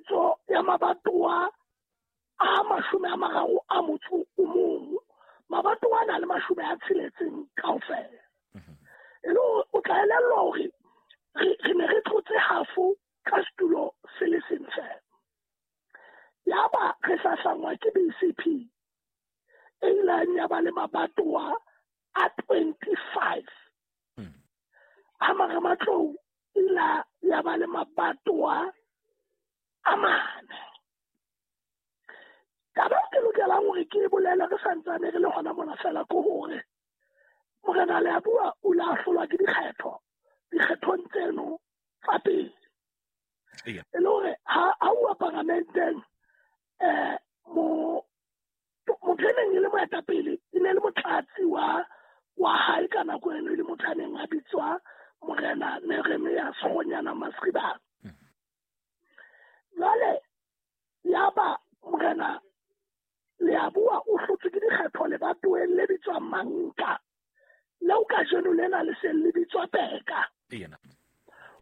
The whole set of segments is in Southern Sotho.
tshebetso ya mabatowa a 31, mabatowa a na le 60 kaofela. E le o tla elellwa hore re ne re tlotse halfo ka setulo se le seng fela. Yaba re hlahlangwa ke BCP e ileng ya ba le mabatowa a 25. Ha Marematlou ila ya ba le mabatowa a 4. Taba ke lokelang hore ke bolele re santsane re le hona mona fela ke hore Morena Leabua o ile a hlolwa ke dikgetho dikgethong tseno tsa pele. E le hore ha a uwa paramenteng motho e neng e le moetapele e ne le motlatsi wa hae ka nako eno, e le motho a neng a bitswa Morena Neremia Sekgonyana Masribane. Jwale yaba Morena Leabua o hlotswe ke dikgetho lebatoweng le bitswang Manka, leo kajeno lena le seng le bitswa Peka.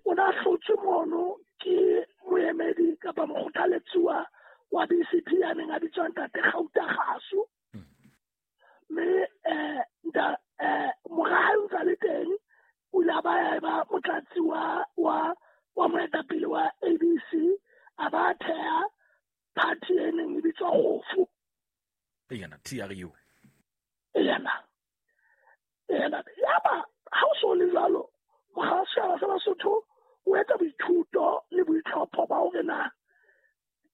O na hlotswe mono ke moemedi kapa mokgothaletsuwa wa BCP ya neng a bitswa Ntate Gauta Kgaso. Mme mora hae o ntse a le teng, o ile a ba ya eba motlatsi wa moetapele wa ABC, a ba theha party e neng e bitswa Kgofu. TRU. Yena. Yaba ha o so le jwalo, mokga wa setjhaba sa Basotho o etsa boithuto le boitlhopho ba hore na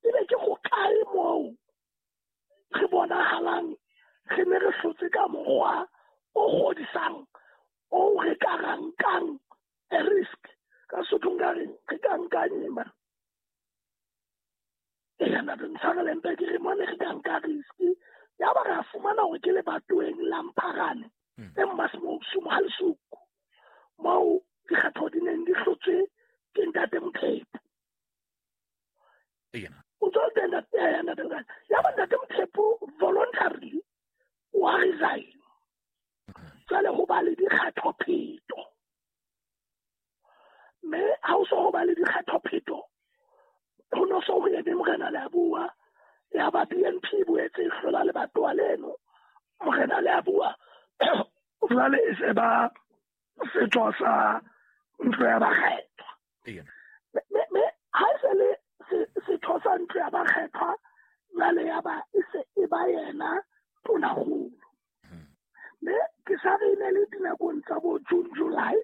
ebe ke ho kae moo re bonahalang re ne re hlotse ka mokgwa o kgodisang o re ka rankang a risk. Ka Sotho nka reng re ka nka nyema ena ntshwarele mpe ke re mone re ka nka risk. Yaba re a fumana hore ke lebatoweng la Mpharane e Mmasemosu Mohalesuku moo dikgetho di neng di hlotswe ke Ntate Mothepu. O tswa teng ntate yaba Ntate Mothepu voluntarily wa resign. Jwale ho ba le dikgethopheto, mme ha o so ho ba le dikgethopheto ho no so ho eme Morena Leabua. Yaba BNP boetse e hlola lebatowa leno. Morena Leabua jwale e se ba setho sa ntlo ya bakgethwa. Mme ha e se le setho sa ntlo ya bakgethwa, jwale yaba e se e ba yena tonakgolo. Mme ke sa re ne le dinakong tsa bo June, July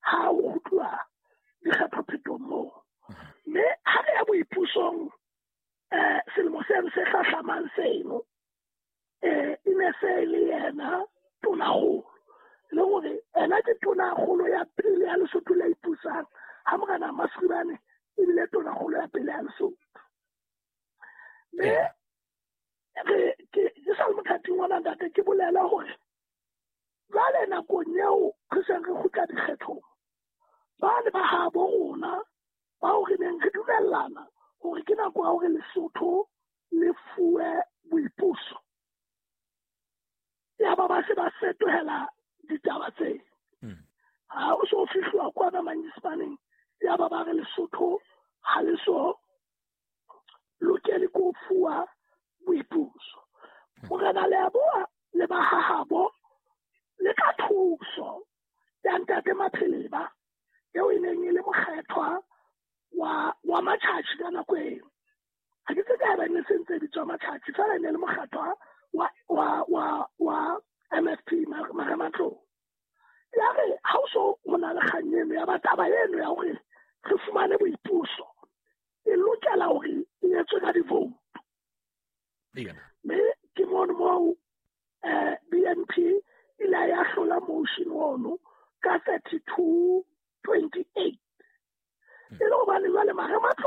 ha o kgutluwa dikgethophetong moo. Mme ha re ya boipusong selemo seno se hlahlamang seno, e ne se le yena tonakgolo. Le hore ena ke tonakgolo ya pele ya Lesotho le ipusang, ha Morena Masribane ebile tonakgolo ya pele ya Lesotho. Mme re ke sa le mothating wa ntate ke bolela hore jwale nakong eo re seng re kgutla dikgethong, ba ne ba habo rona bao re neng re dumellana hore ke nako ya hore Lesotho le fuwe boipuso. Yaba ba se ba fetohela ditaba tse. Ha o so fihluwa kwana Manyesemaneng, yaba ba re Lesotho ha le so lokele ko fuwa boipuso. Morena Leabua le ba hahabo le ka thuso ya Ntate Mapheleba eo e neng e le mokgethwa wa Matjhatjhi ka nako eo. Ha ke tsebe haeba ne se ntse bitswa Matjhatjhi, fela e ne le mokgethwa wa MFP Marematlou. Ya re ha o so ho na le kgang eno ya ba taba eno ya hore re fumane boipuso e lokela hore e etswe ka di-vote. Mme ke mono moo BNP ile ya hlola motion ono ka 32-28. E le hobane jwale Marematlou